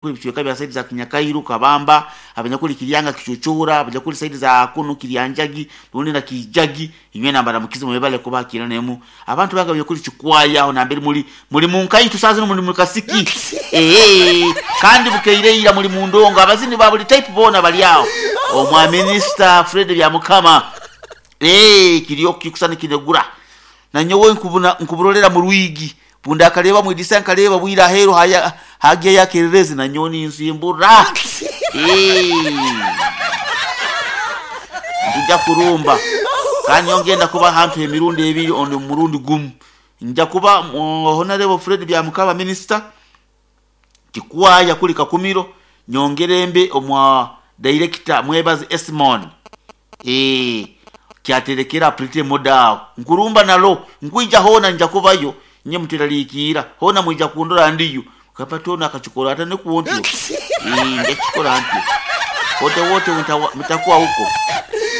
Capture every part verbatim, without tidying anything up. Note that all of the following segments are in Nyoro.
Ebicweka bya side za Kinyakairu, Kabamba, abanyakuli Kiryanga, Kichuchura, abanyakuli side za kuno Kiryanjagi, rundi na Kijagi, inywe nambara mukizi mwebale kubakira nemu. Abantu banga abanyakuli Kikwaya aho nambere muri muri munkayi tusaze no muri mukasiki. Eh, kandi bukeireira muri mundongo abazini ba buli type bona bali aho. Omwa Minister Fred Byamukama. Eh, kiriyo kikusana kinegura. Na nyowe nkubuna nkuburolera mu rwigi. Bunda akareba mu idisa nkareba bwira hero haya hagiye yakerereze na nyoni inzimbura. Eh. Nja kurumba. Kandi yongenda kuba hantu emirundi ebiri on murundi gumu. Nja kuba Honorable Fred Byamukama Minister Kikwaya kuli Kakumiro nyongerembe omwa director Mwebaze Esmon. Eh, kyaterekera prite moda nkurumba nalo nkuija hona nja kubayo nye muteralikira hona mwija kundora ndiyo kapatona akachikora hata nekuontyo eh ndachikora ntyo wote wote mutakuwa huko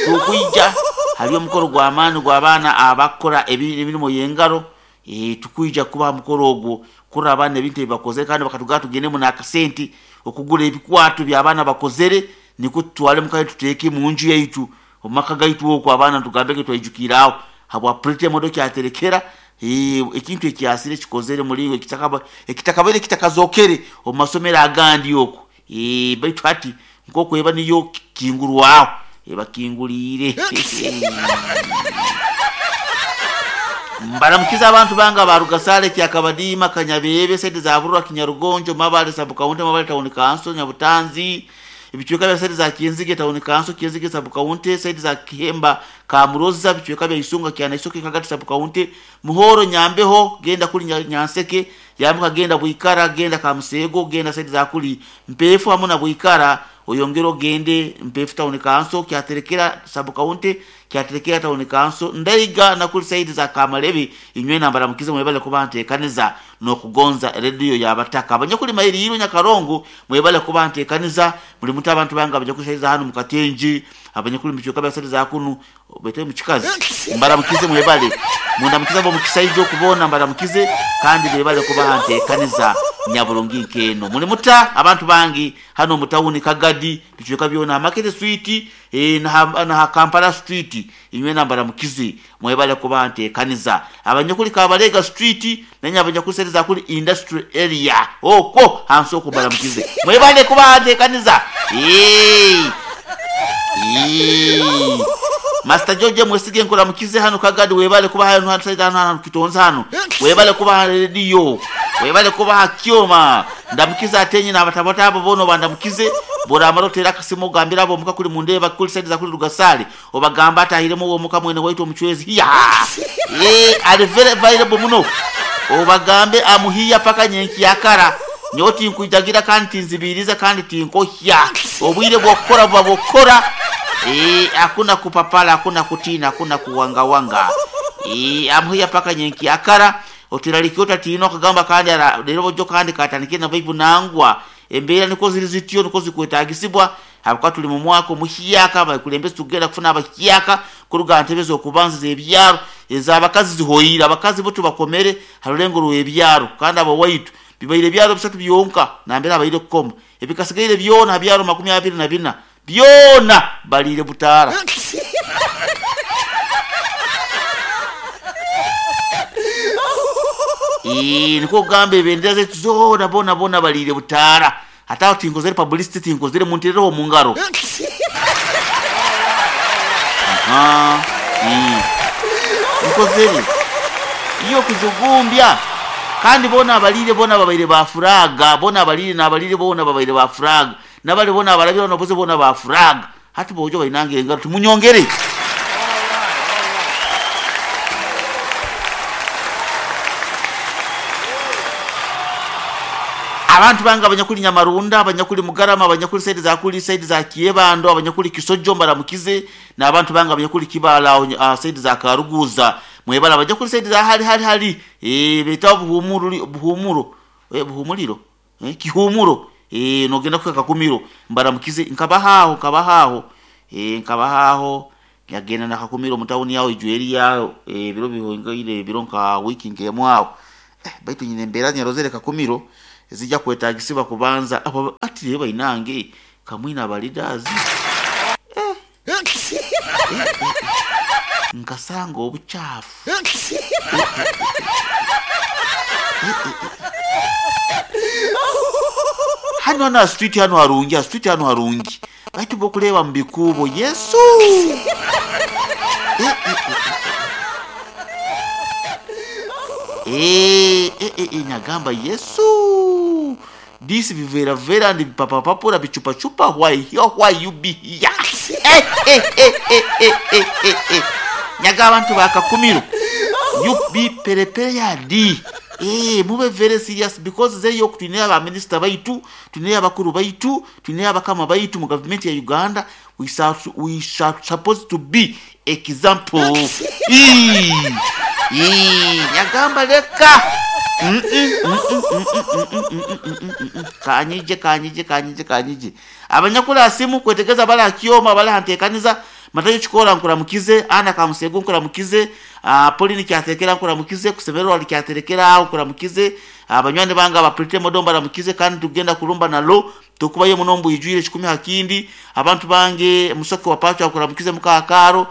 tukuija haliyo mukoro gwa amani gwa abana abakora emirimu yengaro eh tukuija kuba mukoro ogwo kura abana ebintu ebibakozere kandi bakatugaa tugendemu n'akasente okugura ebikwato by'abaana bakozere niko tutwale mukaye tuteeke mu nju yaitu omumaka gaitu okwo abaana tugambeke twaijukiraho habwa prite modo kyaterekera ekintu ekyasire kikozere muri ekitakaba ekitakabere kitakazokere omu masomero agandi okwo eh baitu hati nkokweba niyo kingurwaho ebakingulire mbaramukiza abantu banga barugasale kyakabadima Kanyabebe sente za Burwa Kinyarugonjo Mabale sub county Mabale town council Nyabutanzi ebicweka bya sente za Kinzige town council Kinzige sub county sente za Kihemba Kamuroza ebicweka bya Isunga kyana Isoke Kagati sub county Muhoro Nyambeho genda kuli Nyanseke yambuka genda Bwikara genda Kamusego genda sente za kuli Mpefu hamwe na Bwikara oyongero gende Mpefu town council kyaterekera sub county kyaterekera town council Ndaiga na kuli side za Kamalebe inywe nambara mukize mwebale kuba ntekaniza no kugonza radio yabataka abanyakuli mairi yiro Nyakarongo mwebale kuba ntekaniza muri muta abantu banga abajakushaiza hano mukatenji abanyakuli michoka bya side za kunu bete muchikazi mbara mukize mwebale munda mukize bo mukisaijo kubona mbara mukize kandi mwebale kuba ntekaniza nyaburungi nkeno muri muta abantu bangi hano mutawuni Kagadi bichoka byona Market Street eh na, na Kampala Street inywe nambara mukizi mwebale kuba ntekaniza abanyakuli Kabalega Street nanya abanyakuli side za kuli Industry Area okwo hanso kubara mukize mwebale kuba ntekaniza eh eh Master George mwesige nkora mukize hano Kagadi webale kuba hano hano side hano hano kitonza hano webale kuba radio webale kuba kyoma ndamukiza atenye nabatabata abo bono bandamukize bora amarotera akasimo gambira abo muka kuli mundeba kuli side za kuli Rugasale obagamba atahiremo uwo muka mwene waitu omuchwezi ya eh ari very available muno obagambe amuhiya paka nyenki yakara nyoti nkujagira kandi tinzibiriza kandi tinkohya obwire bwokora buba bokora eh hakuna kupapala hakuna kutina hakuna kuwangawanga eh amuhiya paka nyenki yakara otiralikiota tino kagamba kandi rero bojo kandi katanikie na bibu nangwa embeera niko ziri zityo niko zikwetagisibwa habwa tuli mu mwaka omuhiyaka bakulembeze tugenda kufuna abahiyaka kuruga ntebe zokubanza ebyaro ez'abakazi zihoyira abakazi bo tubakomere harulengo rw'ebyaro kandi abo waitu bibaire ebyaro bisatu byonka nambere abaire kukoma ebikasigaire byona byaro makumi abiri na bina byona balire butara Eh niko kugamba ebendera zetu zona bona bona balire butara hata tinkozere publicity tinkozere munterero mu ngaro aha mm nkozere iyo kujugumbya kandi bona abalire bona babaire ba furaga bona abalire nabalire bona babaire ba furaga nabali bona abalabira noboze bona ba furaga hati bojo bainange ngaro tumunyongere abantu banga abanyakuli Nyamarunda abanyakuli Mugarama abanyakuli side za kuli side za Kiebando abanyakuli Kisojo mbaramukize na abantu banga abanyakuli Kibala uh, side za Karuguza mwebala abanyakuli side za hali hali hali eh beta buhumuru buhumuro eh buhumuliro eh kihumuro eh nogenda kuka Kakumiro mbaramukize nkabahaho nkabahaho eh nkabahaho yagenda na Kakumiro mutawuni yao ijweri yao eh biro bihonga ile biro nka wiki ngemo aho eh baitu nyine mbera nyarozere Kakumiro ezijja kwetagisibwa kubanza abo ati reba inange kamwina aba leaders eh. Eh, eh, eh. Nkasanga obuchafu eh, eh, eh, eh, eh. Hano hano street hano harungi street hano harungi baitu bokuleba mu bikubo Yesu eh, eh, eh. Eh, eh, eh, eh, nyagamba Yesu this vivera vera and papa papura bichupa chupa why why you be here eh, eh, eh, eh, eh, eh, eh, eh. Nyaga abantu bakakumiro you be prepared eh mube very serious because zeyo kutunira ba minister baitu tunira abakuru baitu tunira abakama baitu mu government ya Uganda we shall, we shall supposed to be example eh eh nyagamba leka mm mm mm mm mm mm mm kanyije kanyije kanyije kanyije abanyakula simu kwetegeza bala kioma bala hantekaniza matayo chikola nkuramukize ana kamusego nkuramukize uh, Pauline kyatekera nkuramukize kusemerwa likyaterekera nkuramukize abanywani banga abaprite modomba ramukize kandi tugenda kulumba nalo tukubaye munombo ijwire kikumi hakindi abantu bange musoke wapacho nkuramukize mukakaro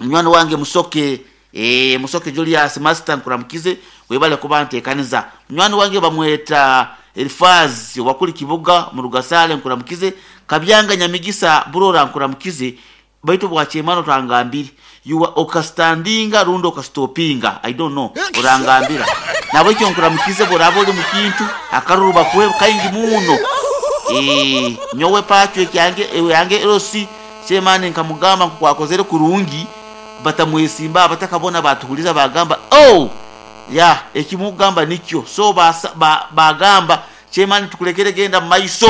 munywani wange musoke eh musoke Julius Master nkuramukize webale kubantekaniza munywani wange bamweta Elfaz wakuli kibuga mu Rugasale nkuramukize kabyanga nyamigisa burora nkuramukize baitu bwachemano tangambiri you are okastandinga rundo okastopinga I don't know orangambira nabo icyo nkuramukize borabo uri mukintu akaruru bakwe kaingi muno eh nyowe pacho kyange yange erosi chemane nkamugamba nkwakozere kurungi batamwesimba batakabona batuhuliza bagamba oh ya ekimugamba nikyo so ba bagamba chemane tukulekere genda maiso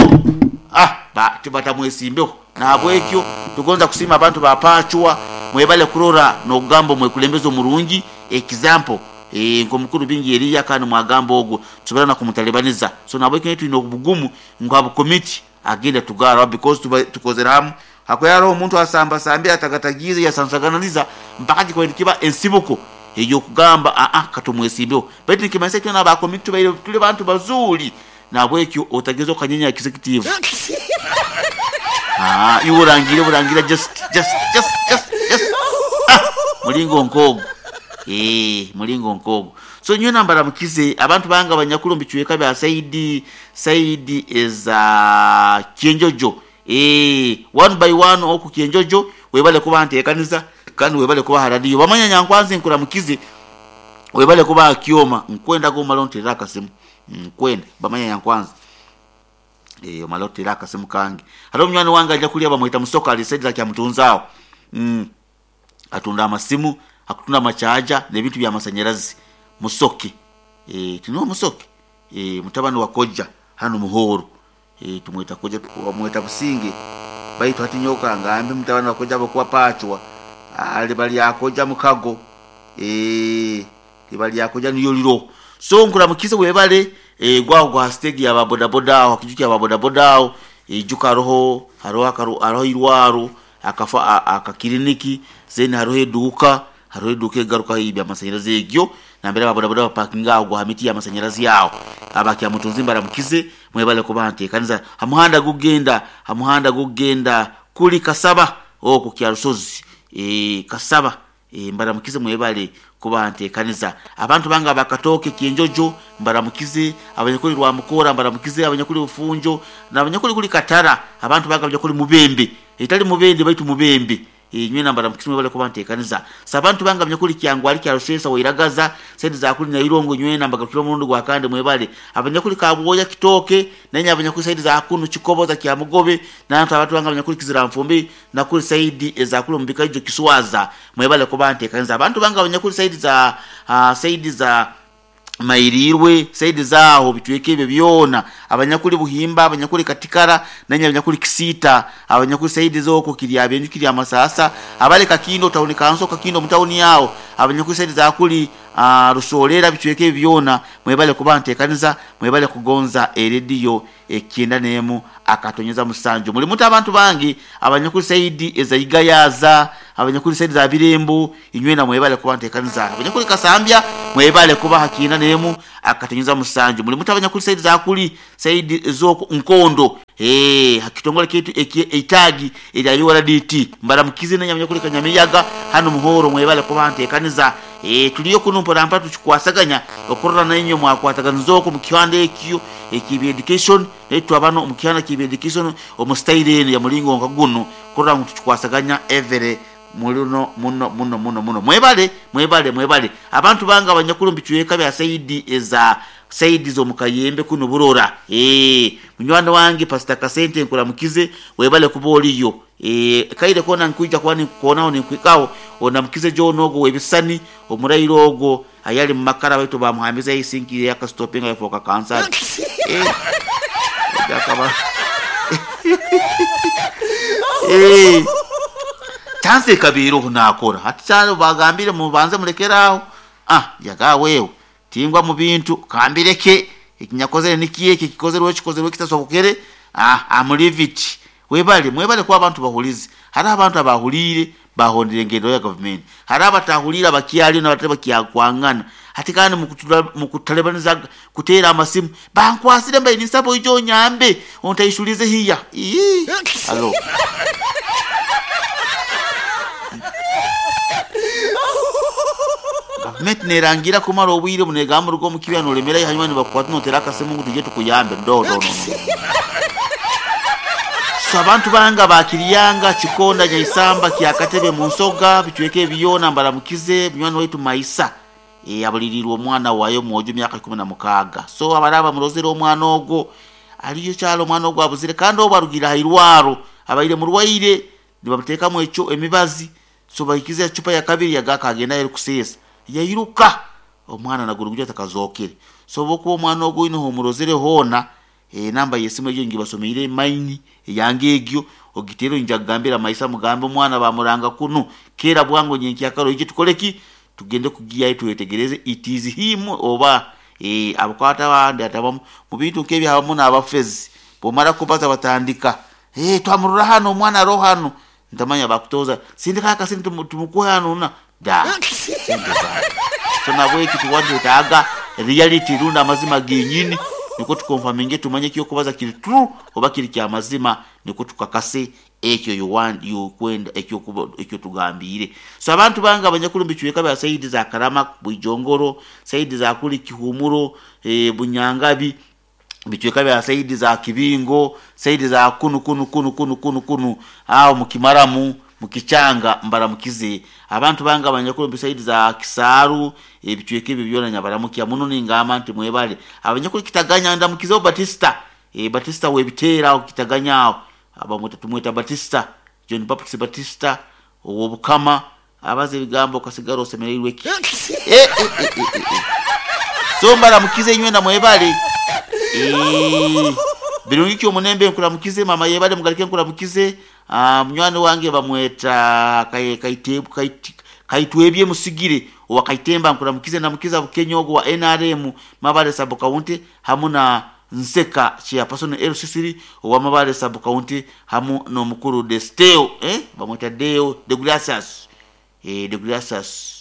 ah ba batamwesimbeho nabwekyo tugonza kusima abantu bapachwa mwebale kurora nogamba mwekulembezo murungi example eh nko bingi eriya kandi mwagamba ogwo tubera na kumutalibaniza so nabwekyo tulina obugumu ngabo committee agenda tugara because tukozera hamu hakoyaro omuntu asamba sambi atagatagize yasansagananiza mpaka kiba ensibuko eyo kugamba a a katumwesimbeho baitu nikimanyisa kyona ba committee baire tuli bantu bazuri nabwekyo otagezo kanyenya executive ah iwo rangira just just just just just ah mulingo nkogo eh mulingo nkogo so nyo nambara mukize abantu banga abanyakuru mbichweka bya Saidi Saidi eza Kienjojo eh one by one oku Kienjojo webale kuba ntekaniza kandi webale kuba haradiyo bamanya nyankwanzi nkura mukize webale kuba kioma nkwenda go malonte rakasimu nkwenda bamanya nyankwanzi eh malote raka simu kange halo mnywana wange aja kulia bamwita musoka alisaidia kya mutunzao mm atunda amasimu akutunda machaja ne bintu bya masanyarazi musoke eh tino musoke eh mutabani wa koja hano muhoro eh tumwita koja tumwita businge baitu hatinyoka ngambe mutabani wa koja bokuwa pachwa ali bali akoja mukago eh libali akoja niyo liro so nkuramukize webale e gwa gwa stage ya boda boda aho kijuki ya boda boda aho ijuka roho haro akaru aroho irwaro akafa akakiriniki zeni haro eduka haro eduka egaruka ibya masanyarazi egyo nambere ba boda boda parking aho gwa miti ya masanyarazi yaho abaki amutunzi mbaramukize mwebale kubante kanza hamuhanda gugenda hamuhanda gugenda kuli kasaba oko kya rusozi e kasaba e mbaramukize mwebale kubante kanisa abantu banga bakatoke Kienjojo mbaramukize abanyakuli rwa mukora mbaramukize abanyakuli ufunjo na abanyakuli kuli katara abantu banga abanyakuli mubembe itali mubembe baitu mubembe inywe nambara mukize mwebale kubante kanisa sabantu banga abanyakuli kyangwa ali kyarushesa wairagaza sedi za kuli na irongo nywe namba gakiro mundu gwa kande mwebale abanyakuli kabwoya kitoke nenya abanyakuli saidi za kunu chikoboza kya mugobe na abantu banga abanyakuli kizira mfumbi na kuli saidi za kuli mbikajo kiswaza mwebale kubante kanisa abantu banga abanyakuli saidi za uh, saidi za mairirwe saidi zaho bitweke ebyo byona abanyakuli buhimba abanyakuli katikara nanya abanyakuli kisita abanyakuli saidi zoko kirya byenju kirya masasa abale kakindo tauni kanso kakindo mutauni yao abanyakuli saidi za kuli uh, rusolera bitweke byona mwebale kubante kanisa mwebale kugonza eredio ekienda nemu akatonyeza musanju mulimuta abantu bangi abanyakuli saidi ezaigayaza abanyakuli saidi za Birembo inywena mwebale kuba ntekaniza abanyakuli Kasambya mwebale kuba hakina nemu akatenyeza musanju muli mutu abanyakuli saidi za kuli saidi zo nkondo eh hakitongole kitu eitagi erya U R D T mbaramukize na nyamanyakuli Kanyamiyaga hano muhoro mwebale kuba ntekaniza eh tuliyo kuno mpora tuchikwasaganya okorora nanyo mwakwataganizoko mu kiwanda ekyo ekibi education netu abano mu kiwanda kibi education omu style ya mulingo nka guno korora ngu tuchikwasaganya every muno muno muno muno muno mwebale mwebale mwebale abantu banga abanyakulu mbichweka bya saidi eza saidi zo mukayembe kuno burora eh munywanda wange Pastor Kasente nkuramukize webale kuboliyo eh kaide kona nkuija kwani kuonao ni kwikao onamukize jonogo webisani omurairo ogo ayali mumakara baitu bamuhambiza isinki ya kastopinga yafoka cancer eh yakaba eh tanse kabiro hunakora hati cyane bagambire mubanze murekeraho ah yagawewe tingwa mu bintu kambireke ikinyakozere nikiye kikozerwe kikozerwe kitasobokere ah amuliviti webale mwebale kwa abantu bahulize hari abantu abahulire bahondire ngendo ya government hari abatahulira bakiali na bateba kiyakwangana hati kandi mukutalebaniza kutera amasimu bankwasire mbaye nisabo ijo nyambe ontayishulize hiya ii allo government nerangira kumara obwire munegamba rugo mukibya nolemera hanyuma nibakwata notera akasimu ngu tuje tukuyambe do do no so abantu banga bakiriyanga Kikonda Nyaisamba Kyakatebe mu nsoga bichweke ebiyona mbaramukize munywani waitu Maisa e abulirirwa omwana wayo mwojo myaka ikumi na mukaaga so abaraba murozera omwana ogo aliyo kyalo omwana ogo abuzire kandi obarugira hairwaro abaire murwaire nibamuteekamu ekyo emibazi so bahikize chupa ya kabiri yagaka agenda eri kusesa yairuka omwana nagurugyo takazokere so bokuba omwana ogo ino homurozere hona e namba yesimu eyo ngibasomeire maini yange egyo ogitero njagambira Maisa mugambe omwana bamuranga kuno kera bwango nyenki akaro ije tukoleki tugende kugiya twetegereze it is him oba e abakwata bandi atabamu mu bintu kebi habamu n'abafezi bomara kubaza batandika eh twamurura hano omwana ro hano ntamanya bakutoza sindika kasi tumukuha hano na da so nabwe kitu taga reality runda amazima genyini niko tukonfaminge tumanye kiyo kubaza kiri true oba kiri kya mazima niko tukakase ekyo you want you kwenda ekyo ekyo tugambire so abantu banga abanyakulu mbichweka bya saidi za Karama Bwijongoro saidi za kuli Kihumuro e, Bunyangabi bichweka bya saidi za Kibingo saidi za kunu kunu kunu kunu kunu kunu aho mukimaramu mukichanga mbaramukize abantu banga abanyakulu mbisaidi za Kisaru ebichweka ebyo byona nyabaramukiya muno ningamba nti mwebale abanyakulu Kitaganya ndamukize Batista e Batista webitera Kitaganya aho abamweta tumweta Batista John Baptist Batista owobukama abaze bigambo kasigaro osemereirwe ki eh eh eh eh, eh. So mbaramukize inywe na mwebale eh birungi kyo munembe nkuramukize mama yebale mugalike nkuramukize ah munywani wange bamweta kaitebu kaitwebye musigire owakaitemba nkuramukize namukiza bukenyogo wa N R M Mabale sub county hamuna Nseka chairperson L C C owa Mabale sub county hamu no mukuru Desteo eh bamweta Deo de Gracias eh de Gracias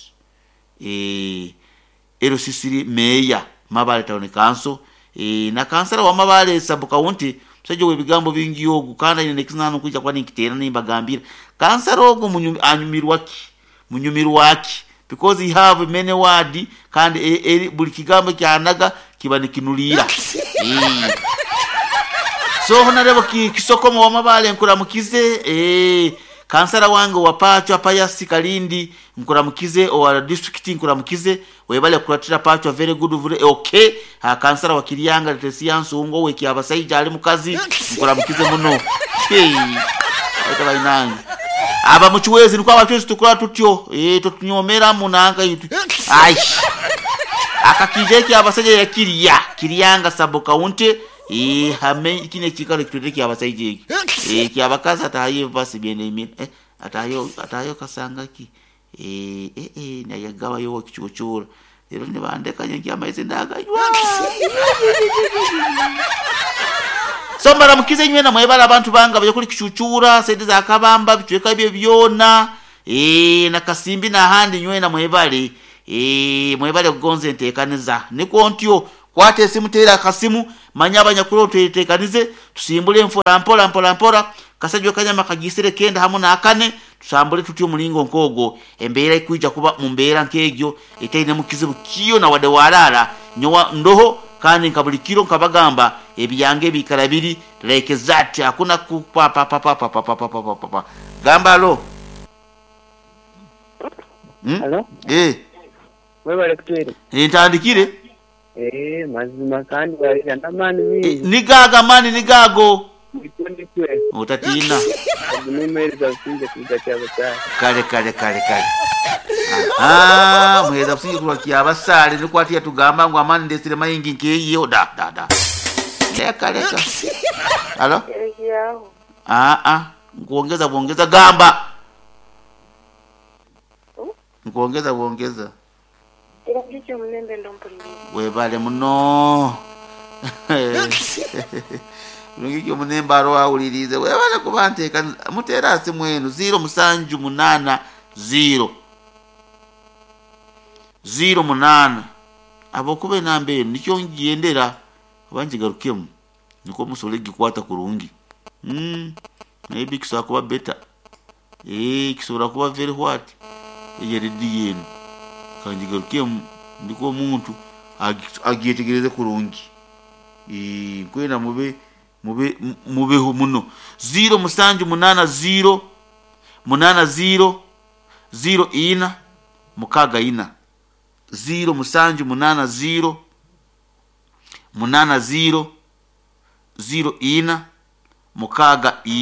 eh L C C mayor Mabale town council e na kansala wa Mabale sub county msajo webigambo bingi ogu kana ine nekizinano kuja kwani nkitera nimbagambira kansala ogu anyumirwaki munyumirwaki because he have many word kandi e, e, buli kigambo kyanaga kiba nikinulira e. So honorable ki, Kisokomo wa Mabale nkuramukize eh kansala wange wa Pachwa Payasi Kalindi nkuramukize owa district nkuramukize webale kuratira Pachwa very good very okay ha kansala wa Kiriyanga Tesia Nsungo weki abasaija ali mukazi nkuramukize muno hey aita bainange aba muchiwezi niko abachuzi tukora tutyo eh tutunyomera munanga yitu ai akakije abasaija ya Kiriya Kiriyanga sub county eh hame kine chikalo kitwete abasaija iki eh kyabakaza ataye vasi byene imi eh atayo atayo kasanga ki eh eh eh nayagawa yo kichochora lero ne bandeka nyangi amaize ndaganywa so mbaramukize nywe na mwebala abantu banga baje kuli kichuchura sente za Kabamba bichweka bye byona Eh, na Kasimbi n'ahandi nywena mwebale. Eh, mwebale kugonza enteekaniza. Nikwo ntyo kwata esimu, teera akasimu, manya abanyakuru twetekanize, tusimbule mpola mpola mpola mpola kasajwa kanyama kagisire kenda hamu n'akane, tusambule tutyo omulingo nkogwo. Embeera ekwija kuba mu mbeera nk'egyo etaine mu kizibu kiyo na wadde walaala nyowa ndoho. Kandi nka buli kiro nkabagamba ebyange bikara biri like that, hakuna kupapapapapapapapapa. Gamba alo. Hmm? Halo, Eh, webale kutwere. Ntandikire. Eh, mazima kandi walira n'amaani Eh, mingi. Nigaago amaani nigaago. Ndikwe Otatiina. agunomereza businge kuga kyabasaale. Kale kale kale kale. Aha, muheza businge kulwa kyabasaale nikwatiya tugamba ngu amaani ndesire mayingi nkeyiyo da da da. Leka leka. Halo? Yaho. Ah ah, nkuongeza kuongeza gamba. Nkuongeza kuongeza. Kiragiki omulembe ndompuliriza. Webale muno. Lungiki omunembe aro awulirize. Webale kuba nteeka muteera asimu eno ziro musanju munana ziro. Ziro munana. Abokuba enamba eno nikyo ngyendera oba ngigarukemu nikwo musobole gikwata kurungi. Mm. Maybe kisobola kuba better. Eh, kisobola kuba very what? Eyo rediyo eno. Kangigarukemu ndiko omuntu agi- agyetegereze kurungi. Eh, nkwenda mube mube mu- mubeho muno. Ziro musanju munana ziro munana ziro ziro ina mukaga ina. Ziro musanju munana ziro munana ziro ziro ina mukaga ina.